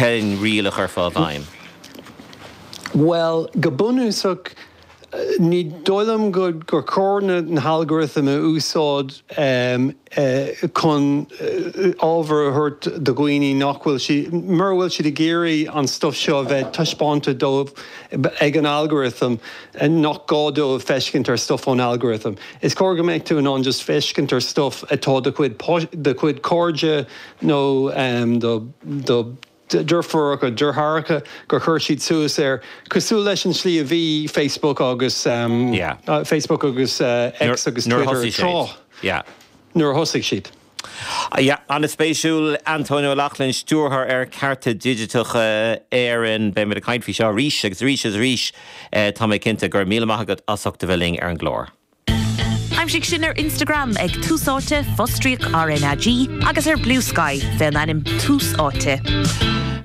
Cén riail a chuirfeá i bhfeidhm? Bhuel, go bunúsach, ní dóigh liom gur chóir na halgartaim a úsáid chun ábhar a thabhairt do dhaoine nach bhfuil siad, mura bhfuil siad ag iarraidh an stuif seo a bheith taispeánta dóibh ag an algorithm, nach gá dóibh feiscint ar stuif ón algorithm. Is cóir go mbeadh tú in ann just feiscint ar stuif atá do chuid do chuid cairde nó do do deirfiúracha, deartháireacha gur chuir siad suas air, cosúil leis an slí a bhí Facebook agus Facebook agus X agus Twitter tráth nuair a thosaigh siad. Yeah, an-spéisiúil. Antóin Ó Lochlainn, Stiúrthóir ar Cearta Digiteacha Éireann. Beimid ag caint faoi seo arís agus arís agus arís, tá mé cinnte. Go raibh míle maith agat as ucht a bheith linn ar an gclár. Aimsigh sinn ar Instagram ag Tús Áite, fostríoc RnaG, agus ar Bluesky fén ainm Tús Áite.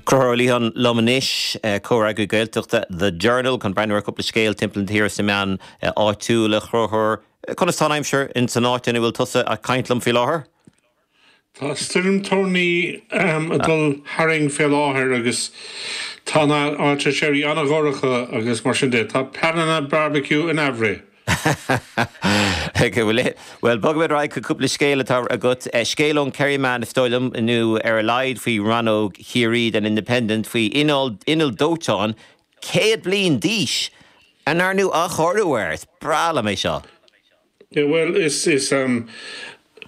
Conchúr Ó Liatháin liom anois, comhfhreagraí Gaeltachta The Journal, chun breathnú ar chúpla scéal timpeall na tíre sna meáin áitiúla. A Chonchúir, conas tá an aimsir ins an áit ina bhfuil tusa ag caint liom faoi láthair? Tá stoirm toirní ag dul tharainn fé láthair agus tá an áit tar éis éirí an-dhorcha agus mar sin de. Tá pleananna barbecue in aimhréidh. Bhuel, bogfaimid ar aghaidh chuig cúpla scéal atá agat. Scéal ón Kerryman, is dóigh liom, nó ar a laghad faoi rannóg Chiarraí den Independent, faoi inneall dóiteáin 100 bliain d'aois a ndearnadh athchóiriú air. Is breá liom é seo. Yeah bhuel is is ehm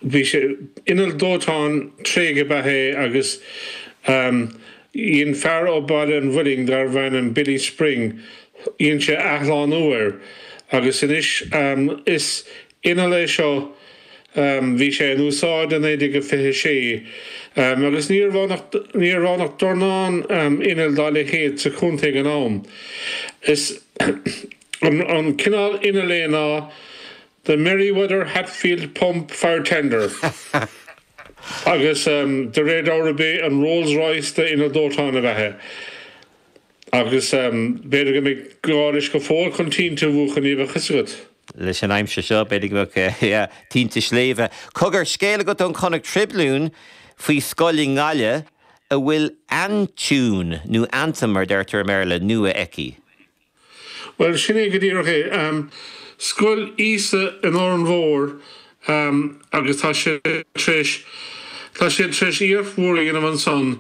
bhí sé inneall dóiteáin tréigthe ab ea é agus ehm dhein fear ó Baile an Mhuilinn darbh ainm Billy Spring dhein sé athshlánú air agus anois ehm is inneall é seo ehm bhí sé in úsáid i 1926 ehm agus ní raibh ann ach ní raibh ann ach dornán ehm inneall dá leithéid sa chontae ag an am. Is An cineál innill é ná The Merryweather Hatfield Pump Fire Tender agus de réir dealraimh b'é an Rolls Royce d'innill dóiteáin ab ea é. Agus b'fhéidir go mbeidh gá leis go fóill chun tinte a mhúchadh, ní bheadh fhios agat. Leis an aimsir seo, b'fhéidir go mbeadh, yeah, tinte sléibhe. Cogar, scéal agat ón Connacht Tribune faoi scoil i nGaillimh a bhfuil aintiún, nó anthem mar a deirtear i mBéarla, nua aici. Bhuel, sin é go díreach é. Scoil Íosa in Órán Mór agus tá sé tar éis, tá siad tar éis iarracht mhór a dhéanamh ansan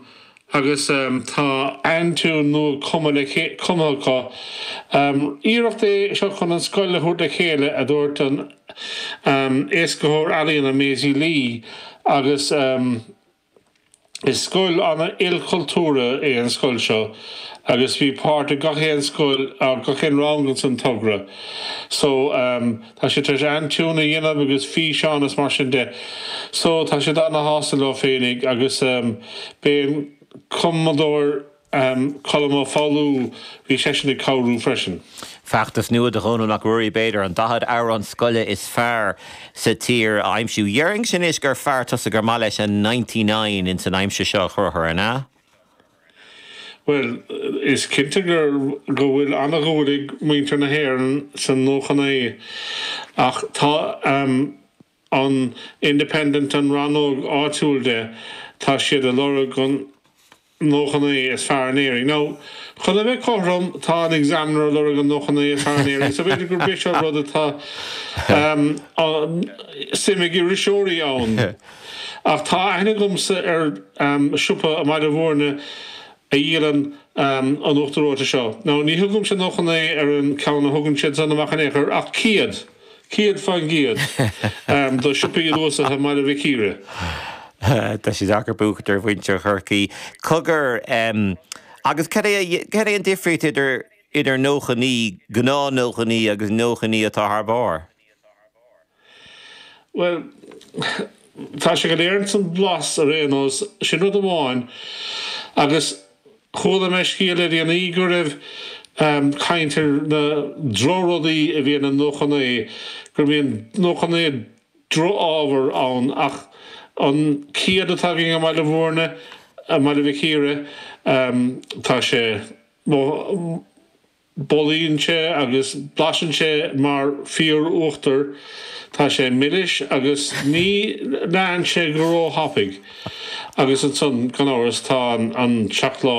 agus tá aintiún nua cumtha le, cumtha acu. Iarracht é seo chun an scoil a thabhairt le chéile, a dúirt an éascaitheoir ealaíona Maisie Lee agus. Is scoil an-ilchultúrtha é an scoil seo agus bhí páirt ag gach aon scoil, gach aon rang ins an togra. So tá siad tar éis aintiún a dhéanamh agus físeán is mar sin de. So tá siad ana-shásta leo féinig agus b'é an cumadóir Colm Ó Foghlú, bhí seisean ag cabhrú freisin. Feachtas nua do Dhónall Mac Ruairí, b'fhéidir, an 40 amhrán scoile is fearr sa tír a aimsiú. Déarfainnse anois gur fear tusa gur maith leis an 99 ins an aimsir seo a Chonchúir, an ea? Bhuel, is cinnte gur go bhfuil ana-dhúil ag muintir na hÉireann san 99 ach tá an Independent, an rannóg áitiúil de, tá siad ag lorg an 99 is fearr in Éirinn. Now, chun a bheith cothrom, tá an Examiner ag lorg an 99 is fearr in Éirinn, so b'fhéidir gurb é seo rud atá suim ag iriseoirí ann. Ach tá aithne agamsa ar siopa i mBaile Bhúirne a dhíolann an uachtar reoite seo. Now, ní thugaimse 99 ar an ceann a thugann siad san amach in aon chor, ach 100. 100% do siopaí luasaithe i mBaile Mhic Íre. Tá sé deacair buachaint ar mhuintir Chorcaí. Cogar, agus cad é, cad é an difríocht idir, idir 99, gnáth 99 agus 99 atá thar barr? Bhuel, tá sé go léir ins an blas ar aon nós, sin rud amháin. Agus Chuala mé scéal le déanaí go raibh caint ar na drochrudaí a bhíonn in 99, go mbíonn 99 droch-ábhar ann ach an 100 atá againn i mBaile Bhúirne, i mBaile Mhic Íre, tá sé. Bolaíonn sé agus blaiseann sé mar fíor-uachtar. Tá sé milis agus ní leánn sé go róthapaidh. Agus ansan, gan amhras, tá an seacláid.